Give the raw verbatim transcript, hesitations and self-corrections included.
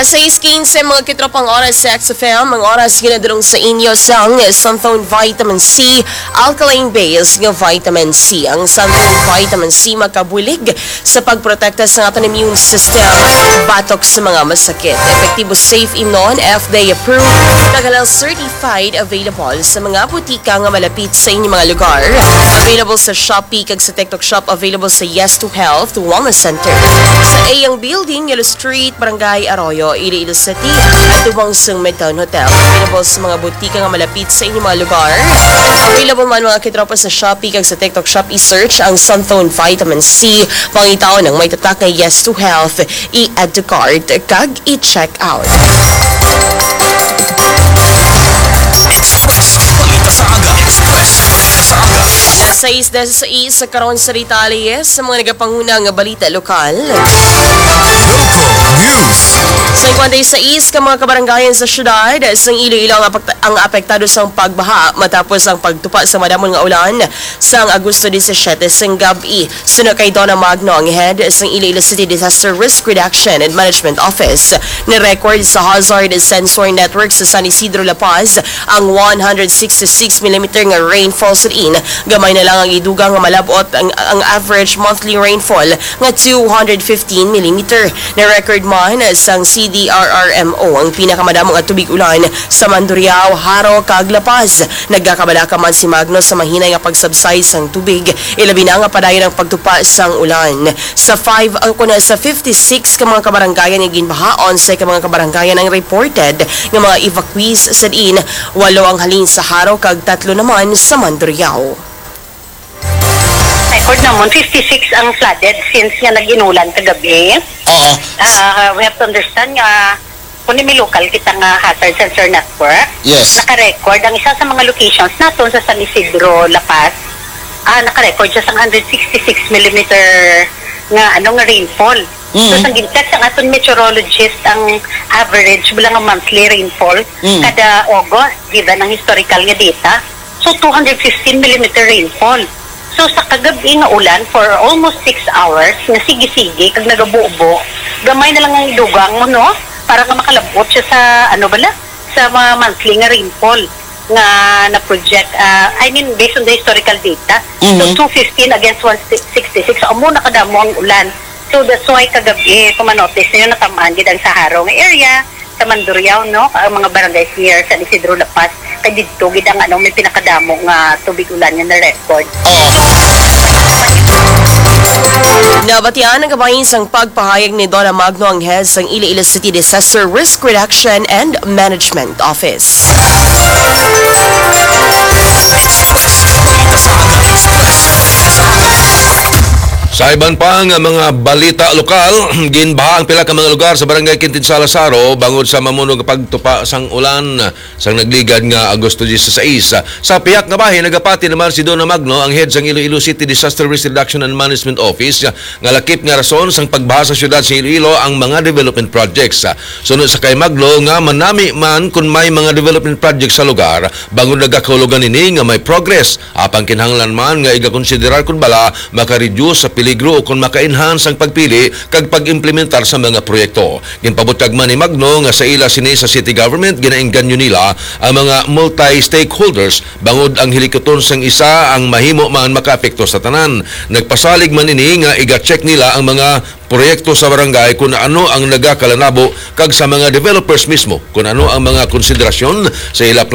Sais quince, mga kitropang oras sa X F M, ang oras ginadulong sa inyo sang Santhone Vitamin C, alkaline base nga vitamin C. Ang Santhone Vitamin C makabulig sa pagprotekta sa aton immune system batok sa mga masakit. Epektibo, safe imnon, F D A approved, kag halal certified, available sa mga butika nga malapit sa inyong mga lugar. Available sa Shopee kag sa TikTok Shop, available sa Yes to Health Wellness Center, sa Eyang Building, Yellow Street, Barangay Arroyo, Iloilo City, tubong sang Midtown Hotel. Available sa mga butika nga malapit sa inyong mga lugar. Available man, mga kitropa, sa Shopee kag sa TikTok Shop. I-search ang Santhone Vitamin C. Pangitaon ang may tatak nga Yes to Health. I-add to cart kag i-check out. Sais dasa sais sa karon sa detalye sa mga nagapanguna nga balita lokal. Local news. Sa Inquantay sais ka mga kabarangayan sa syudad sang Iloilo ang apekta-, ang apektado sang pagbaha matapos ang pagtupa sa madamon nga ulan sang Agosto disisiete sang gab-i. Suno kay Donna Magno, ang head sang Iloilo City Disaster Risk Reduction and Management Office, ni-record sa Hazard Sensor Network sa San Isidro, La Paz, ang one hundred sixty-six millimeter nga rainfall sa diin. Gamay na lang ang idugang nga malab-ot ang, ang average monthly rainfall nga two hundred fifteen millimeter. Na-record man sang C D R R M O ang pinakamadamo nga tubig ulan sa Mandurriao, Jaro, kag La Paz. Nagakabalaka man si Magno sa mahinay nga pag-subside sang tubig, ilabi na nga padayon ang pagtupa sang ulan. Sa five, ang kuna sa fifty-six ka mga kabarangayan nga ginbahaon, sa ka mga kabarangayan ang reported nga mga evacuees sa diin, walo ang halin sa Jaro kag tatlo naman sa Mandurriao. Record namon, fifty-six ang flooded since nga nag-inulan kagabi. Oo. Ah, we have to understand nga kung may local kita nga hazard sensor network, Yes. naka-record ang isa sa mga locations naton sa San Isidro, La Paz. Ah, naka-record siya sa hundred sixty-six millimeter nga, ano, nga rainfall. So, Mm. sa gintag sa aton meteorologist, ang average bala nga monthly rainfall Mm. kada August, given ang historical nga data. So, two hundred fifteen millimeter rainfall. So, sa kagabi nga ulan for almost six hours, nga sige-sige, kag nagabubo, gamay na lang ang idugang mo, no? Para nga makalabot siya sa, ano bala? Sa mga monthly nga rainfall nga na-project, ah, I mean, based on the historical data. So, Mhm. two fifteen against one sixty-six. So, amo na kadamo ang ulan. So, that's why kagabi, kung manotice ninyo, natamaan gid ang sa Jaro nga area, sa Mandurriao, no? Ang mga barangays near San Isidro, La Paz, kay didto gid ang, ano, may pinakadamo nga tubig ulan nga na-record. Oo. Nabatian ang kabahin sang pagpahayag ni Donna Magno, ang head sang Iloilo City Disaster Risk Reduction and Management Office. Sa iban pa nga mga balita lokal, ginbaha ang pila ka mga lugar sa Barangay Quintin Salazaro bangod sa mamuno nga pagtupa sang ulan sang nagligad nga Agosto dieciséis. Sa pihak nga bahin, nagapati naman si Donna Magno, ang head sang Iloilo City Disaster Risk Reduction and Management Office, nga lakip nga rason sang pagbaha sa siyudad sa Iloilo ang mga development projects. Suno sa kay Magno nga manami man kun may mga development projects sa lugar, bangod nagakahulugan ini nga may progress. Apang kinahanglan man nga igakonsiderar kun bala maka-reduce sa peligro o kon maka-enhance ang pagpili kag pag-implementar sa mga proyekto. Ginpabutyag man ni Magno nga sa ila sini sa city government, ginaengganyo nila ang mga multi-stakeholders bangod ang hilikuton sang isa ang mahimo man makaapekto sa tanan. Nagpasalig man ini nga iga-check nila ang mga proyekto sa barangay kung ano ang nagakalanabo kag sa mga developers mismo kung ano ang mga konsiderasyon sa ila